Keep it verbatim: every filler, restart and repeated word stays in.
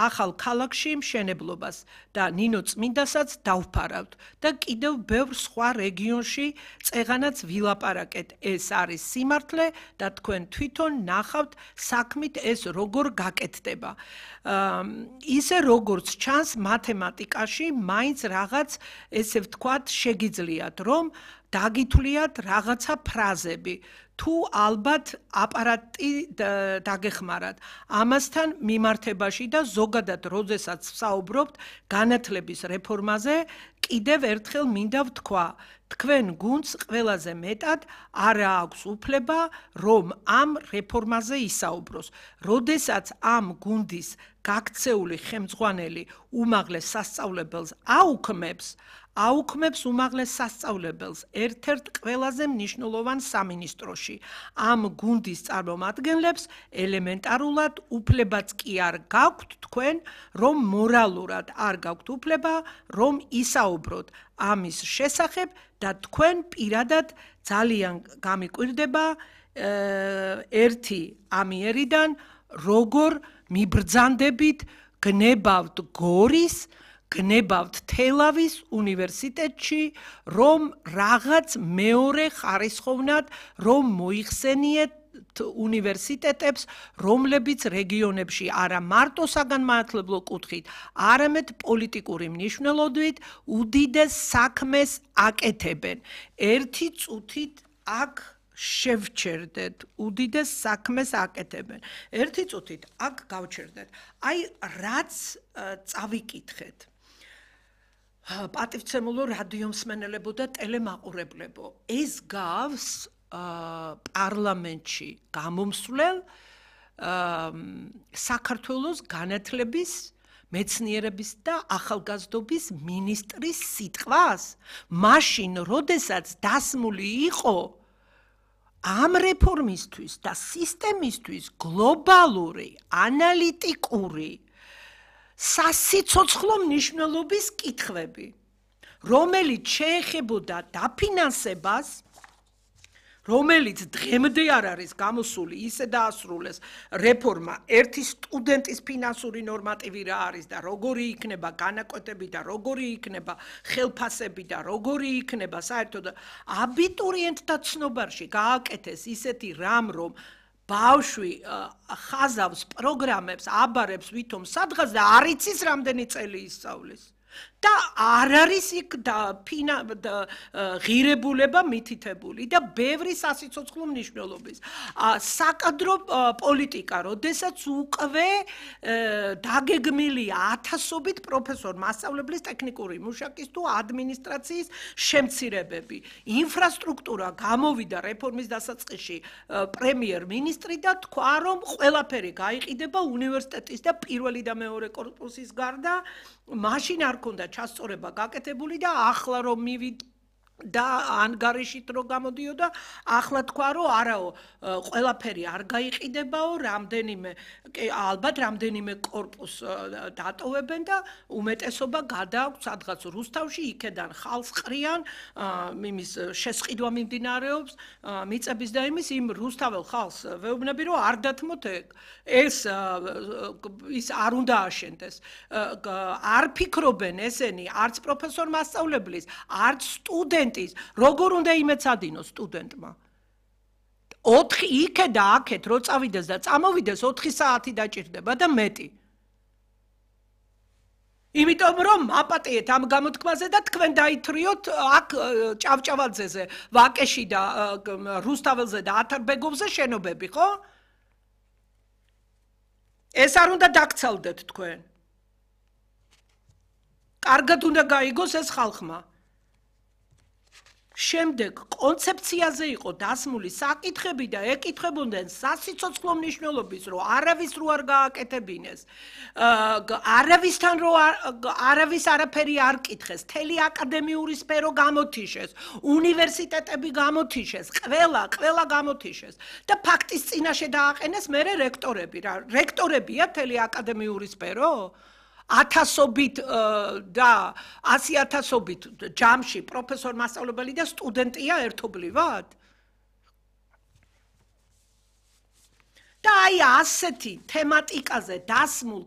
ახალ ქალაქში მშენებლობას და ნინო წმინდასაც დავფარავთ და კიდევ ბევრ სხვა რეგიონში წეღანაც ვილაპარაკეთ. ეს არის სიმართლე და თქვენ თვითონ ნახავთ საქმით ეს როგორ გაკეთდება. ისე როგორც ჩანს მათემატიკაში მაინც რაღაც ესე ვთქვათ შეგიძლიათ რომ დაგითვლიათ რაღაცა ფრაზები თუ ალბათ აპარატი დაგეხმარათ ამასთან მიმართებაში და ზოგადად როდესაც ვსაუბრობთ განათლების რეფორმაზე კიდევ ერთხელ მინდა ვთქვა თქვენ გუნდს ყველაზე მეტად არა აქვს უფლება რომ ამ რეფორმაზე ისაუბროს როდესაც ამ გუნდის გაქცეული ხელმძღვანელი უმაღლეს სასწავლებელს აუქმებს აუქმებს უმაღლეს სასწავლებელს ერთ-ერთ ყველაზე მნიშვნელოვან სამინისტროში. ამ გუნდის წარმომადგენლებს ელემენტარულად უფლებაც კი არ გაქვთ თქვენ, რომ მორალურად არ გაქვთ უფლება, რომ ისაუბროთ ამის შესახებ და თქვენ პირადად ძალიან გამიკვირდება ერთი ამიერიდან, როგორ მიბრძანდებით გნებავთ გორის გნებავთ თელავის უნივერსიტეტში, რომ რაღაც მეორე ხარისხოვნად რომ მოიხსენიეთ უნივერსიტეტებს, რომლებიც რეგიონებში არა მარტო საგანმანათლებლო კუთხით, არამედ პოლიტიკური მნიშვნელობით უდიდეს საქმეს აკეთებენ. ერთი წუთით აქ შევჩერდეთ, უდიდეს საქმეს აკეთებენ. ერთი წუთით აქ გავჩერდეთ. აი რაც წავიკითხეთ. პატივცემულო რადიომსმენელებო და ტელემაყურებლებო, ეს გავს პარლამენტში გამომსვლელ საქართველოს განათლების მეცნიერების და ახალგაზრდობის მინისტრის სიტყვას, მაშინ, როდესაც დასმული იყო ამ რეფორმისთვის და სისტემისთვის გლობალური, ანალიტიკური სასიცოცხლო მნიშვნელობის კითხვები, რომელიც შეეხებოდა დაფინანსებას, რომელიც დღემდე არ არის გამოსული, ისე დაასრულეს რეფორმა, ერთი სტუდენტის ფინანსური ნორმატივი რა არის და როგორი იქნება განაკვეთები და როგორი იქნება ხელფასები და როგორი იქნება საერთოდ აბიტურიენტთა ცნობარში გააკეთეს ისეთი რამ, რომ ბავშვი ხაზავს პროგრამებს, აბარებს ვითომ სადღაც და არ იცის რამდენი წელი ისწავლის. და არ არის იქ ღირებულება მითითებული და ბევრი სასიცოცხლო მნიშვნელობის. საკადრო პოლიტიკა, როდესაც უკვე დაგეგმილია ათასობით პროფესორ მასწავლებლის ტექნიკური მუშაკის თუ ადმინისტრაციის შემცირებები. ინფრასტრუქტურა გამოვიდა რეფორმის დასაწყისში პრემიერ-მინისტრი და თქვა, რომ ყველაფერი გაიყიდება უნივერსიტეტის და პირველი და მეორე კორპუსის გარდა, მაშინ არ ქონდა ჩასწორება გაკეთებული და ახლა რომ მივიდ და ანგარიშით რო გამოდიოდა, ახლა თქვა რომ არაო, ყველაფერი არ გაიყიდებაო, რამდენიმე ალბათ რამდენიმე კორპუს დატოვებენ და უმეტესობა გადააქვთ სადღაც რუსთავში, იქედან ხალხს ყრიან, იმის შესყიდვა მიმდინარეობს, მიწების და იმის იმ რუსთაველ ხალხს ვეუბნები რომ არ დათმოთ ეს ის არ უნდა აშენდეს. არ ფიქრობენ ესენი არც პროფესორ მასწავლებლის, არც სტუდენტ როგორ უნდა იმეცადინოს სტუდენტმა? ოთხი იქე და აქეთ რო წავიდეს და წამოვიდეს ოთხი საათი დაჭირდება და მეტი. იმიტომ რომ აპატიეთ ამ გამოთქმაზე და თქვენ დაითრიოთ აქ ჭავჭავაძეზე, ვაკეში და რუსთაველზე და ათარბეგოვზე შენობები, ხო? ეს არ უნდა დაგცალდეთ თქვენ. კარგად უნდა გაიგოს ეს ხალხმა. შემდეგ კონცეფციაზე იყო დასმული საკითხები და ეკითხებოდნენ სასიცოცხლო მნიშვნელობის, რომ არავის რო არ გააკეთებინეს, არავისთან რო არავის არაფერი არ კითხეს, მთელი აკადემიური სფერო გამოთიშეს, უნივერსიტეტები გამოთიშეს, ყველა, ყველა გამოთიშეს და ფაქტის წინაშე დააყენეს მერე რექტორები. რექტორებია მთელი აკადემიური სფერო? ათასობით და ასი ათასობით ჯამში პროფესორ მასწავლებელი და სტუდენტია ერთობლივად? და აი ასეთი თემატიკაზე დასმულ